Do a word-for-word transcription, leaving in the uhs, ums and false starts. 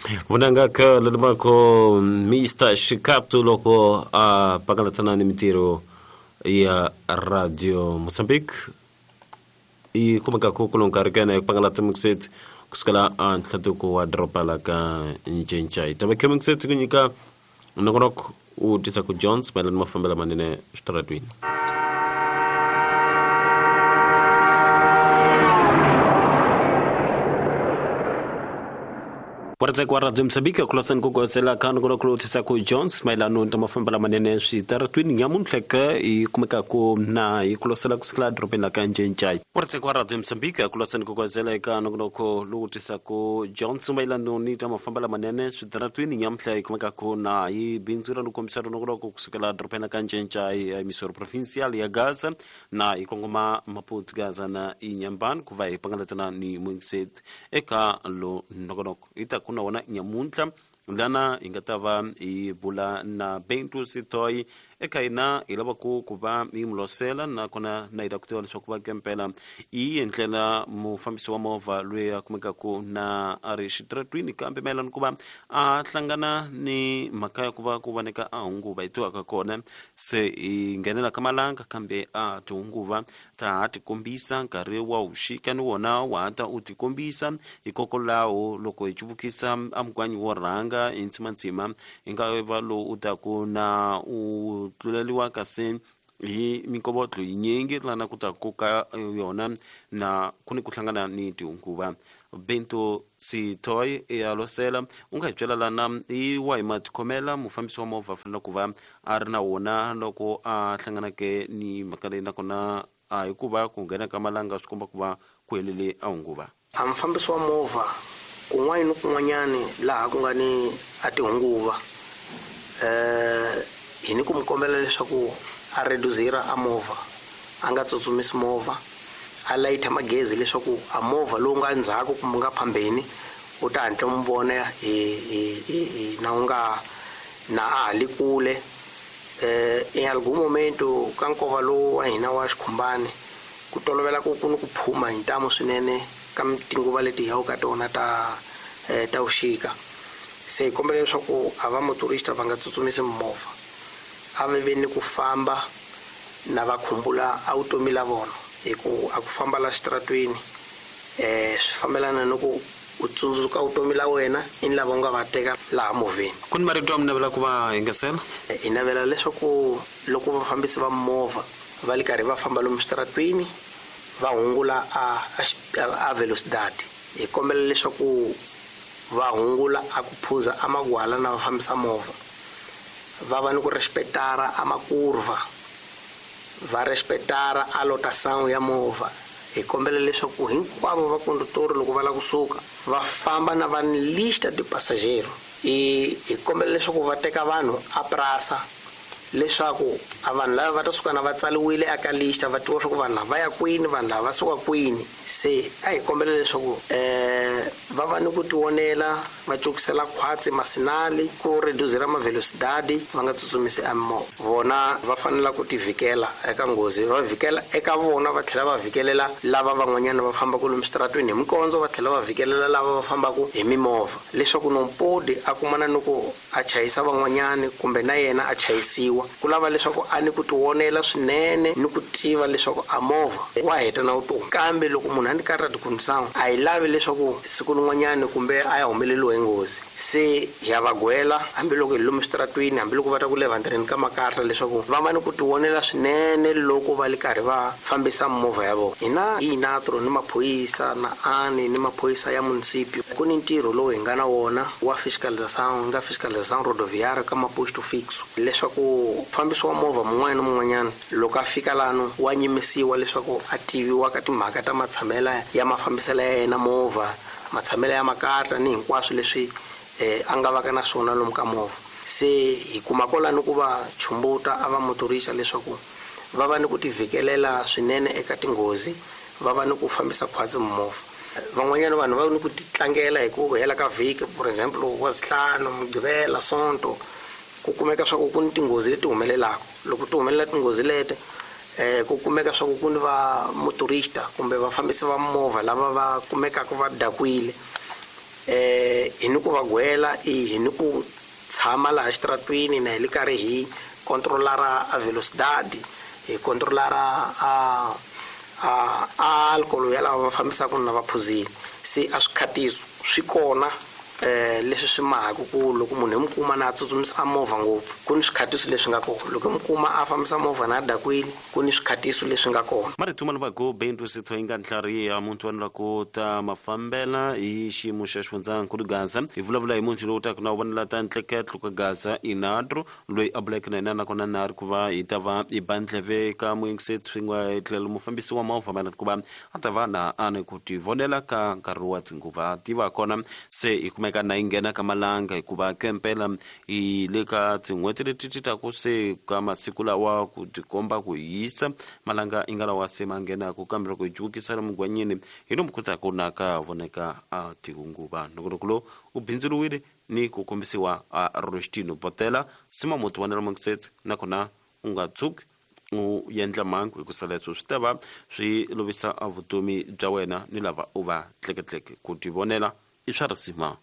Vunanga ka lalumako Mister Shikatu loko a pakalatana ni mintirho ya Radio Mozambique i kumeka ku kulonka ri kena hi pangalata mixet kusukela a ntlhatuko wa doroba la ka Ncencai tava khe mixet ku nyika nongonoko u tisa ku Jones mayelana ni mafambelo manene switaratwini. Wardzek wa Radio Mozambique kulosan ku gozela ka nongonoko lowu tisa ku Jones mayelana ni mafambelo manene switaratwini nyamuntlha ka i kumeka ku na hi kulosela kusukela dorobeni la ka Ncencai. Wardzek wa Radio Mozambique kulosan ku gozela eka nongonoko lowu tisa ku Jones mayelana ni mafambelo manene switaratwini nyamuntlha i kumeka ku na hi bindzu ra kombisa nongonoko kusukela dorobeni la ka Ncencai emisoro provincial ya Gaza na hi kongoma Maputo Gaza na Inhambane ku va hi pangalatana ni Mungset eka lo nongonoko ita kuna wona nyamuntlha lana hi nga ta va hi bula na Bento Sitoy eka hina hi lava ku ku va hi mulosela nakona na hi lava ku tiva leswaku va kempela i endlela mufambisi wa movha loyi a kumekaku na a ri xitaratwini kambe mayelana ku va a hlangana ni mhaka ya ku va ku voneka a hunguva hi tivaka kona se hi nghenela ka malanga kambe a tihunguva ta ha tikombisa nkarhi wa vuxika ni wona wa ha ta u tikombisa hikokwalaho loko hi cuvukisa a mugwanyi wo rhanga hi ntsimantsima hi nga va lowu u taku na u tluleliwa kasi hi minkovotlo yinyingi lana ku ta koka yona na ku ni ku hlangana ni tihunguva. Bento Sitoy ya losela u nga hi byela lana hi wahi matikhomela mufambisi wa movha fanele ku va a ri na wona loko a hlanganake ni mhaka leyi nakona a hikuva ku nghena ka malanga swi komba ku va ku helele a hunguva. A mufambisi wa movha kun'wana ni kun'wanyani laha ku nga ni a tihunguva eh hi ni ku mi kombela leswaku a reduzira a movha a nga tsutsumisi movha a layita magezi leswaku a movha lowu nga ndzhaku kumbe nga phambeni u ta hatla mu vona hi hi na u nga na a ha li kule. Eh em algum momento ka nkova lowu wa hina wa xikhumbani ku tolovela ku ku ni ku phuma hi ntamu swinene ka tinguva leti hi yaka ka tona ta ta vuxika. Se hi kombela leswaku a va motorista va nga tsutsumisi movha a va ve ni ku famba na va khumbula a vutomi la vona hi ku a ku famba la xitaratwini eh swi fambelana ni ku u tsundzuka vutomi la wena i ni lava u nga va teka laha movheni. Ku ni marito ya mi navela ku va yingisela? Hi navela leswaku loko vafambisi va movha va li karhi va famba lomu switaratwini va hungula a a velocidade. Hi kombela leswaku va hungula a ku phuza a magwala na va fambisa movha va va ni ku respetara a makurva va respetara a lotação ya movha. Hi kombela leswaku hinkwavo va condutor loko va lava kusuka va famba na va ni lista de passageiro. I hi kombela leswaku va teka vanhu a prasa leswaku a vanhu lava va ta suka na va tsaliwile eka lista va tiva swa ku vanhu lava va ya kwini vanhu lava va suka kwini. Se a hi kombela leswaku eh va va ni ku tionela va cukisela khwatsi masinali ku reduzira mavelocidade va nga tsutsumisi a movha. Vona va fanela ku tivhikela eka nghozi va vhikela eka vona va tlhela va vhikelela lava van'wanyana va fambaka lomu switaratwini hi mikondzo va tlhela va vhikelela lava va fambaka hi mimovha leswaku nompodi a kumana ni ku a chayisa van'wanyani kumbe na yena a chayisiwa. Ku lava leswaku a ni ku tionela swinene ni ku tiva leswaku a movha wa heta na vutomi kambe loko munhu a ni karhi a tikhundisana a hi lavi leswaku siku rin'wanyani kumbe a ya humeleliwa hi nghozi. Se hi ya va gwela hambiloko hi lomu switaratwini hambiloko va ta ku levantireni ka makarta leswaku va va ni ku tionela swinene loko va li karhi va fambisa movha ya vona. Hina hi natro ni maphorisa na ani ni maphorisa ya municipio ku ni ntirho lowu hi nga na wona wa fiscalização nga fiscalização rodoviária ka maposto fixo leswaku mufambisi wa movha mun'wana na mun'wanyana loko a fika lano wa nyimisiwa leswaku a tiviwa ka timhaka ta matshamela ya mafambiselo ya yena movha matshamelo ya makarta ni hinkwaswo leswi eh a nga vaka na swona lomu ka movha. Se hi kuma kwalano ku va chumbuta a va motorista leswaku va va ni ku tivhikelela swinene eka tinghozi va va ni ku fambisa khwatsi movha. Van'wanyana vanhu va ni ku titlangela hi ku hela ka vhiki for example wa zihlanu mugqivela sonto ku kumeka swa ku ku ni tinghozi leti humelelaka. Loko ti humelela tinghozi leti eh ku kumeka swa ku ku ni va motorista kumbe vafambisi va movha lava va kumekaka va dakwile eh hi ni ku va gwela i hi ni ku tshama laha xitaratwini na hi le karhi hi controlara a velocidade, hi controlara a a alcohol ya lava va fambisaka na va phuzile. Se a swikhatiso swi kona eh leswi swi mahaka ku loko munhu hi mukuma na a tsutsumisa movha ngopfu ku ni swikhatiso leswi nga kona, loko hi mukuma a fambisa movha na a dakwile ku ni swikhatiso leswi nga kona. Marito ma lavaku Bentu Sitho yi nga ntlhariha muntu wa lava ta mafambela hi xiyimo xa xifundzankulu Gaza. Hi vulavula hi munhu lowu taka na vonela ta ntleketlo ka Gaza Inadro loyi a buleke na yena nakona na ri ku va hi ta va hi ba ndleve ka muyingiseti swin'we tlhelo mufambisi wa movha mayelana ku va a ta va na a ni ku tivonela ka nkarhi wa tinguva tiva kona se hi kumeka na yi nghena ka malanga hikuva kempela hi le ka tin'hweti leti ti taku se ka masiku lawa ku tikomba ku hisa malanga yi nga lawa se ma nghenaku kambe loko hi jukisa lomu gwanyini hi lomu kotaka na ka voneka a tinguva. Nongonoko lowu u bindzuriwile ni ku kombisiwa a Rostino Botela sima muti wa Nela nakona u nga tshuki u endla mhangu hi ku sala leswo swi ta va swi lovisa a vutomi bya wena ni lava u va tleketleke ku tivonela i swa risima.